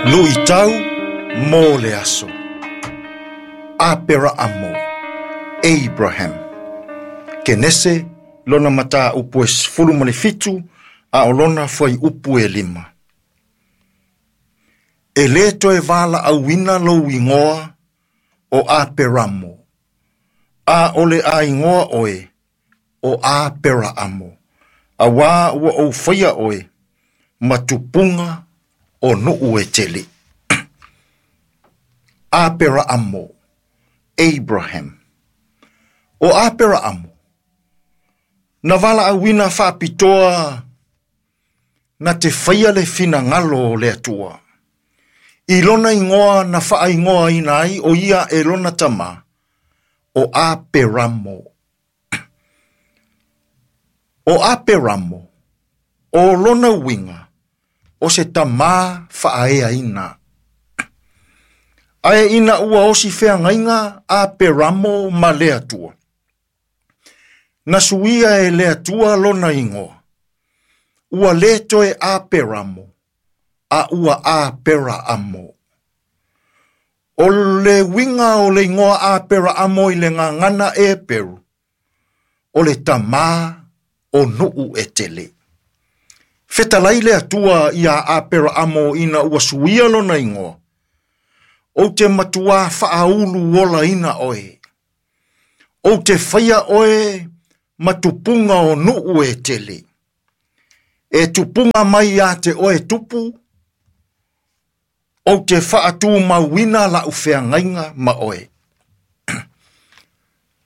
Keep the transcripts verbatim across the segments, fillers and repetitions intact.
Luitau mo le aso. Aperaamo, Abraham. Kenese lona mata upu e sefulu ma le fitu a o lona foi upu e lima. E le toe vala auina lou igoa o Aperamo, a o le a igoa oe o Aperaamo, a wā ua ou whaia oe, ma tupunga o nuu e tele. Aperaamo, Abraham. O Aperaamo, na vala auina whaapitoa na te whaia le finangalo o le atua. I lona ingoa na wha ingoa ina ai o ia e lona tama o Aperamo. O Aperamo, o lona winga, o se tama whaaea ina. Ae ina ua osi wheangainga Aperamo ma le atua. Na suia e le atua lona ingoa. Ua le toe Aperamo, a ua Aperaamo. O le winga o le ingoa Aperaamo i le ngangana e Peru. O le tama o nuu e tele. Fetalai le atua ia Aperaamo ina ua suia lona ingoa. O te matua whaaulu ola ina oe. O te whaia oe matupunga o nuu e tele. E tupunga mai a te oe tupu, o te whaatu mauina la uwheangainga ma oe.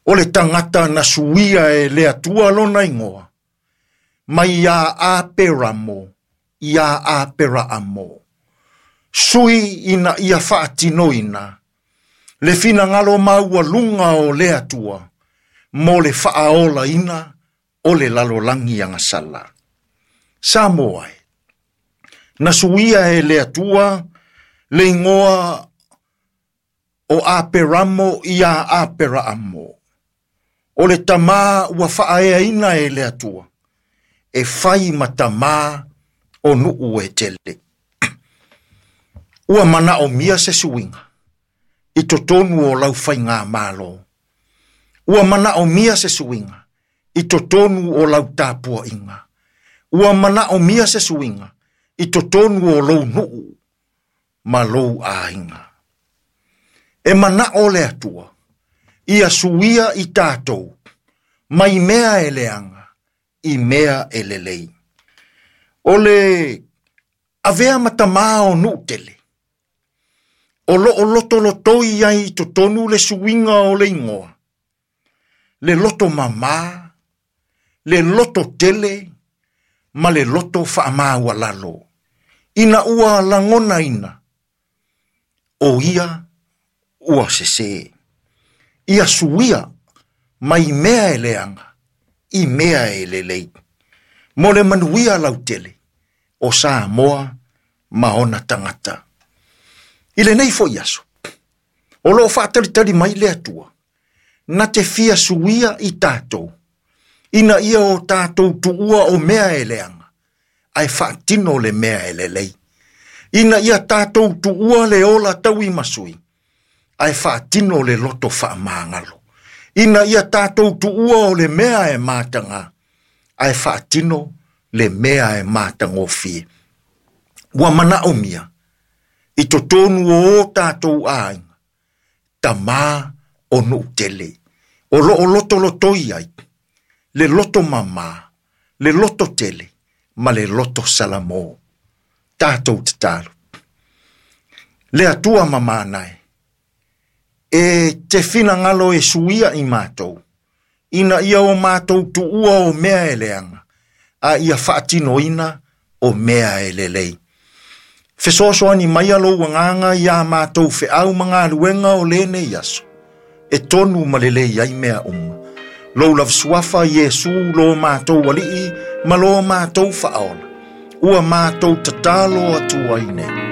O le tangata na suia e le atua lona ingoa, mai ia Aperamo, ia Aperaamo. Sui ina ia whaatinoina, le finangalo maua lunga o le atua, mo le whaaola ina o le lalolangi angasala. Samoa e, na suia e le atua, le ingoa o Aperamo ia Aperaamo. O le tama ua whaaea ina e le atua, e whai matama o nuu e tele. Ua mana o mia se suinga, i totonu o lau whai ngā malo. Ua mana o mia se suinga, i totonu o lau tāpua inga. Ua mana o mia se suinga, i totonu o lou nuu, ma lou āinga. E mana o le atua, ia suia i tātou, mai mea e leanga, i mea e lelei. O le avea matama o nuu tele, o lo o loto lotoi ai totonu le suinga o le ingoa. Le loto mama, le loto tele, ma le loto whaamaua lalo. Ina ua langona ina, o ia ua sese. Ia suia mai mea e leanga, i mea e lelei. Mo le manuia lautele, o Samoa ma ona tangata. I le nei foi aso, o loo whaatalitali mai le atua, na te fia suia i tātou, ina ia o tātou tuua o mea e leanga, ai whaatino le mea e lelei. Ina ia tātou tuua le ola taui masui, ai whaatino le loto whaamangalo. Ina ia tātou tuua o le mea e mātanga, ai whaatino le mea e mātangofie. Ua mana o mia, i totonu o o tātou āinga, tamā o nuu tele, o lo o loto lotoi ai, le loto mama, le loto tele, ma le loto salamo. Tātou te talo. Le atua mamānai, e te finangalo e suia i mātou, ina ia o mātou tuua o mea e leanga, a ia whaatinoina o mea e lelei. Fesoasoani mai alo wanganga ia mātou wheau mga luenga o lene iaso. E tonu malele ai mea uma. Lou lava suafa Iesu lo mātou alii ma lo mātou whaola. Ua mātou tatalo atu ai nei.